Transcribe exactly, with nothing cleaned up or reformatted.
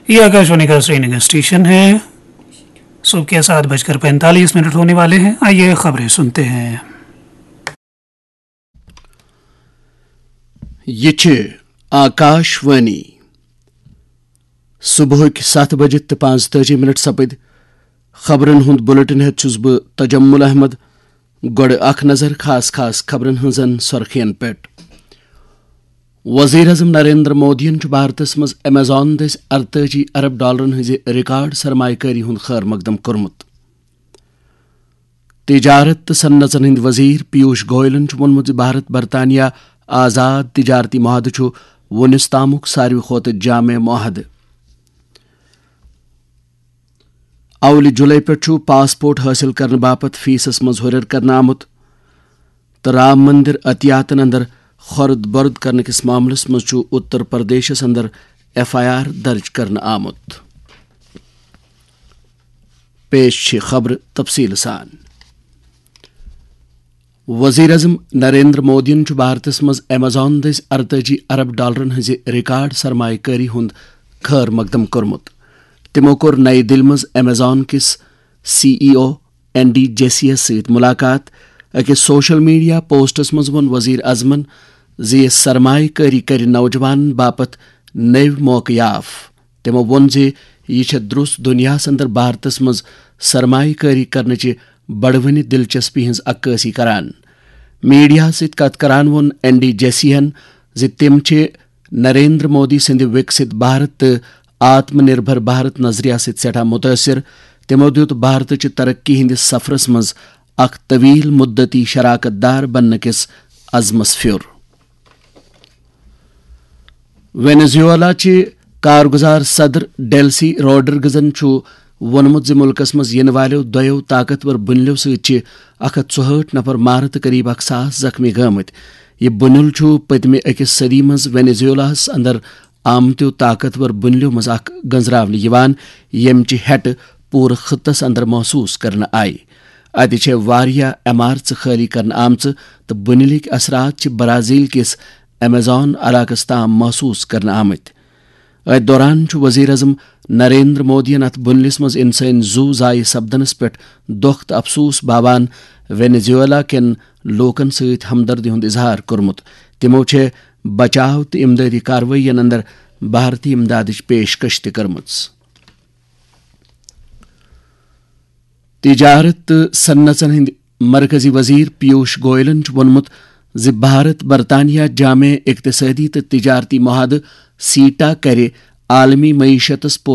ये आकाशवाणी का श्रीनगर स्टेशन है। सुबह के सात बजकर पैंतालीस मिनट होने वाले हैं। आइए, खबरें सुनते हैं। یہ چھِ آکاشوانی۔ صبحٕکۍ ستھ بجہِ تہٕ پانٛژتٲجی منٹ سپٕدۍ۔ خبرن ہُنٛد بلیٹن ہٮ۪تھ چھُس بہٕ تجمل احمد۔ گۄڈٕ اکھ نظر خاص خاص خبرن ہٕنٛزن سرخین پٮ۪ٹھ۔ وزیر اعظم نریندر مودیَن چھُ بھارتس منٛز ایمیزون دٔسۍ ارتٲجی ارب ڈالرن ہٕنٛزِ ریکارڈ سرمایہ کٲری ہُنٛد خیر مقدم کوٚرمُت۔ تجارت تہٕ صنعژن ہٕنٛدۍ وزیر پیوش گوئلن چھُ ووٚنمُت زِ بھارت برطانیہ آزاد تجارتی معاہدٕ چھُ وُنیُس تامُک ساروی کھۄتہٕ جامع معاہدٕ۔ اولہِ جولائی پٮ۪ٹھ چھُ پاسپورٹ حٲصِل کرنہٕ باپتھ فیسس منٛز ہُرٮ۪ر کرنہٕ آمُت تہٕ رام مندر عطیاتن اندر خۄرد بۄرد کرنہٕ کِس معاملس منٛز چھُ اتر پردیشس اندر ایف آئی آر درج کرنہٕ آمُت۔ پیش چھِ خبرٕ تفصیٖل سان۔ وزیر اعظم نریندر مودیَن چھُ بھارتس منٛز ایمیزون دٔسۍ ارتٲجی ارب ڈالرن ہٕنٛزِ ریکارڈ سرمایہ کٲری ہُنٛد خیر مقدم کوٚرمُت۔ تِمَو کوٚر نئی دِلہِ منٛز ایمیزون کِس سی ای او این ڈی جیسی یَس سۭتۍ مُلاقات۔ أکِس سوشل میڈیا پوسٹَس منٛز ووٚن وزیر اعظمَن زِ یہِ سرمایہ کٲری کَرِ نوجوانَن باپتھ نٔوۍ موقعہٕ یاف۔ تِمَو ووٚن زِ یہِ چھےٚ درٛس دُنیاہَس اندر بھارتَس منٛز سرمایہ کٲری کرنٕچہِ بڑوٕنہِ دلچسپی ہٕنٛز عکٲسی کران۔ میڈیاہَس سۭتۍ کتھ کران ووٚن این ڈی جیسی یَن زِ تِم چھِ نریندر مودی سٕنٛدِ وِکسِت بھارت تہٕ آتم نربھر بھارت نظریہ سۭتۍ سٮ۪ٹھاہ مُتٲثِر۔ تِمَو دیُت بھارتٕچہِ ترقی ہٕنٛدِس سفرَس منٛز اکھ طویل مدتی شراکت دار بننہٕ کِس عزمَس پھیُر۔ وینزویلا چہِ کارگزار صدر ڈیلسی روڈرگزن چھُ ووٚنمُت زِ مُلکَس منٛز یِنہٕ والٮ۪و دۄیو طاقتور بُنیلیو سۭتۍ چھِ اکھ ہتھ ژُہٲٹھ نفر مارٕ تہٕ قریب اکھ ساس زخمی گٲمٕتۍ۔ یہِ بُنیُل چھُ پٔتمہِ أکِس صدی منٛز وینزویلاہَس اندر آمتیو طاقتور بُنیلیو منٛز اکھ گنزراونہٕ یِوان، ییٚمہِ چہِ ہٮ۪ٹہٕ پوٗرٕ خطس اندر محسوس کرنہٕ آیہِ۔ اتہِ چھےٚ واریاہ عمارژٕ خٲلی کرنہٕ آمژٕ تہٕ بُنیلٕکۍ اثرات چھِ برازیل کِس ایمیزون علاقس تام محسوس کرنہٕ آمٕتۍ۔ أتھۍ دوران چھُ وزیر اعظم نریندر مودیَن اتھ بُنلِس منٛز انسٲنی زُو ضایع سپدنس پٮ۪ٹھ دۄکھ تہٕ افسوس باوان وینزویلا کٮ۪ن لوٗکن سۭتۍ ہمدردی ہُنٛد اظہار کوٚرمُت۔ تِمَو چھےٚ بچاو تہٕ امدادی کاروٲیین اندر بھارتی امدادٕچ پیشکش تہِ کٔرمٕژ۔ تجارت تہٕ صنعژن ہٕنٛدۍ مرکزی وزیر پیوش گوئلن چھُ ووٚنمُت زِ بھارت برطانیہ جامع اقتصٲدی تہٕ تجارتی معاہدٕ سیٹا کرِ عالمی معیشتس